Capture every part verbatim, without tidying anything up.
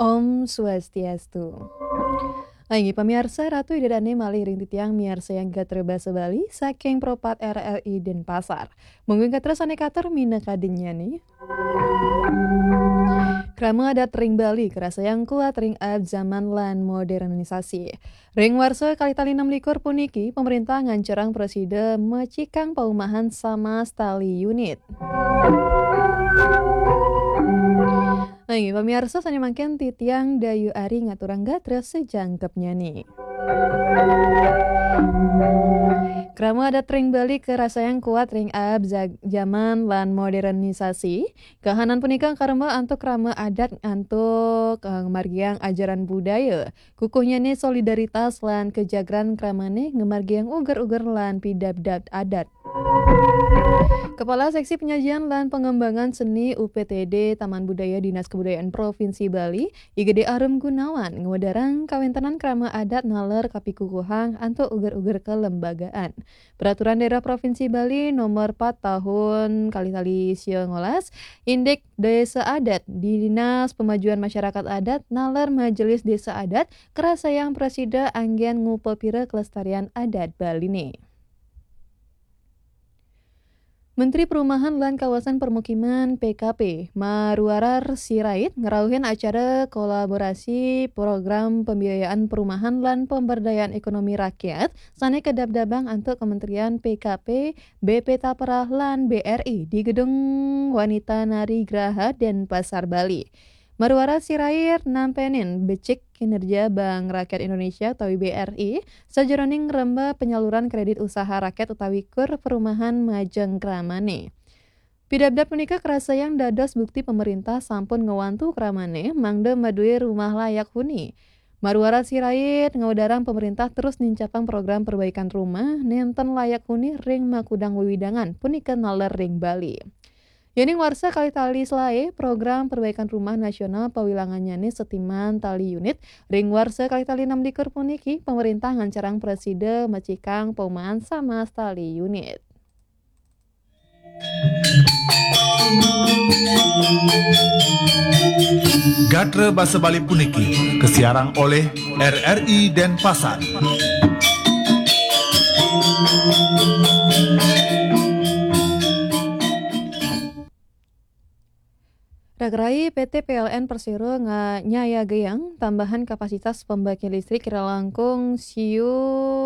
Om Swastiastu. Inggih pamiarsa, Ratu Ida dané malih ring titiang miarsayang gatra basa Bali saking Pro pat R R I Denpasar. Mungguing gatra sané katur minakadinyané. Krama adat ring Bali karasayang kuat ring abjaman lan modernisasi. Ring warsa kalih tali enam likur puniki, pamréntah ngancarang prasida macikang paumahan samas tali unit. Nah, inggih pamiarsa, sané mangkin titiang Dayu Ari ngaturang gatra sajangkepnyané. Krama adat ring Bali karasayang kuat ring abjaman lan modernisasi. Kahanan punika karemba antuk krama adat antuk, eh, ngamargiang ajaran budaya. Kukuhnyané solidaritas lan kajagran kramané ngamargiang uger-uger lan pidabdab adat. Kepala Seksi Penyajian lan Pengembangan Seni U P T D Taman Budaya Dinas Kebudayaan Provinsi Bali, I G D Arum Gunawan, ngwedarang kawéntenan krama adat naler kapikukuhang antuk uger-uger kelembagaan. Peraturan Daerah Provinsi Bali Nomor empat Tahun kalih tali sia ngolas, Indik Desa Adat di Dinas Pemajuan Masyarakat Adat naler Majelis Desa Adat karasayang prasida anggén ngupapira kelestarian adat Baliné. Menteri Perumahan lan Kawasan Permukiman, P K P, Maruarar Sirait ngrauhin acara kolaborasi Program Pembiayaan Perumahan lan Pemberdayaan Ekonomi Rakyat sané kadabdabang antuk Kementerian P K P, B P Tapra lan B R I di Gedung Wanita Nari Graha, Denpasar, Bali. Maruarar Sirait nampénin becik kinerja Bank Rakyat Indonesia utawi B R I sajeroning ngremba penyaluran kredit usaha rakyat utawi kur perumahan majeng kramané. Pidabdab punika karasayang dados bukti pamaréntah sampun ngwantu kramané mangda madué rumah layak huni. Maruarar Sirait ngwedarang pamaréntah terus nincapang program perbaikan rumah nénten layak huni ring makudang wewidangan punika naler ring Bali. Yéning warsa kalih tali selaé, program perbaikan rumah nasional pawilangannyané setiman tali unit, ring warsa kalih tali enam likur puniki, pamaréntah ngancarang prasida macikang paumahan samas tali unit. Gatra basa Bali puniki kasiarang olih R R I Denpasar. Ragarai, P T P L N Persero nga-, nyayagayang tambahan kapasitas pembangkit listrik kirang langkung siu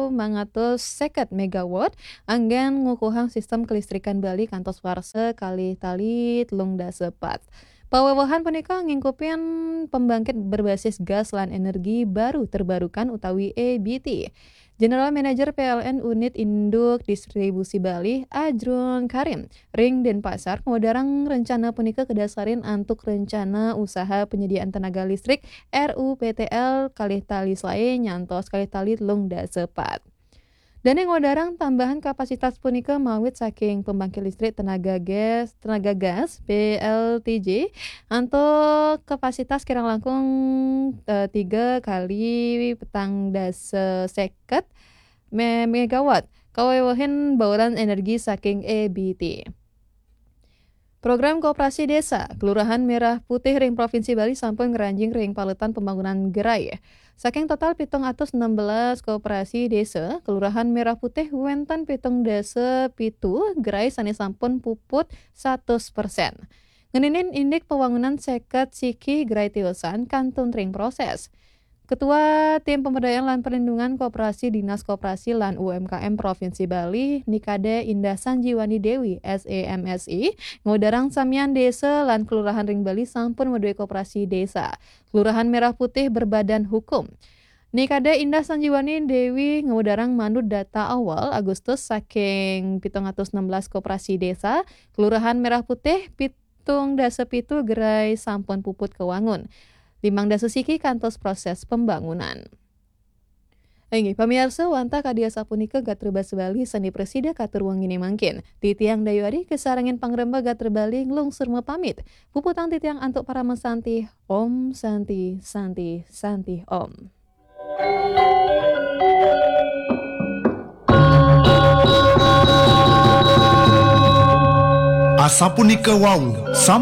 mangatus seket megawatt anggén ngukuhang sistem kelistrikan Bali kantos warsa kalih tali telung dasa pat. Pawewehan punika ngingkupin pembangkit berbasis gas lan energi baru terbarukan utawi E B T. General Manager P L N Unit Induk Distribusi Bali, Ajrun Karim, ring Denpasar, ngwedarang rencana punika kadasarin antuk Rencana Usaha Penyediaan Tenaga Listrik, R U P T L, kalih tali selaé nyantos kalih tali telung dasa pat. Dané ngwedarang tambahan kapasitas punika mawit saking pembangkit listrik tenaga gas, tenaga gas, P L T G, antuk kapasitas kirang langkung, eh, tiga kali petang dasa seket me-, megawatt, kawewehin bauran energi saking E B T. Program Koperasi Desa, Kelurahan Merah Putih ring Provinsi Bali sampun ngranjing ring paletan pembangunan gerai. Saking total pitung atus enam belas koperasi desa, Kelurahan Merah Putih wénten pitung dasa pitu gerai sané sampun puput satus persen. Ngeninin indik pawangunan seket siki gerai tiosan kantun ring proses. Ketua Tim Pemberdayaan lan Perlindungan Koperasi Dinas Koperasi lan U M K M Provinsi Bali, Nikade Indah Sanjiwani Dewi, S E M S I, ngwedarang samian desa lan kelurahan ring Bali sampun madué koperasi desa. Kelurahan Merah Putih berbadan hukum. Nikade Indah Sanjiwani Dewi ngwedarang manut data awal Agustus saking pitung atus enam belas koperasi desa, Kelurahan Merah Putih pitung dasa pitu gerai sampun puput kawangun. Limang dasa siki kantos proses pembangunan. Inggih, pamiarsa, wantah kadi asapunika gatra basa Bali sané prasida katur wenginé mangkin. Titiang Dayu Ari kasarengin pangremba gatra Bali nglungsur mapamit. Puputang titiang antuk parama santi. Om Santi, Santi, Santi Om. Asapunika wau, sampun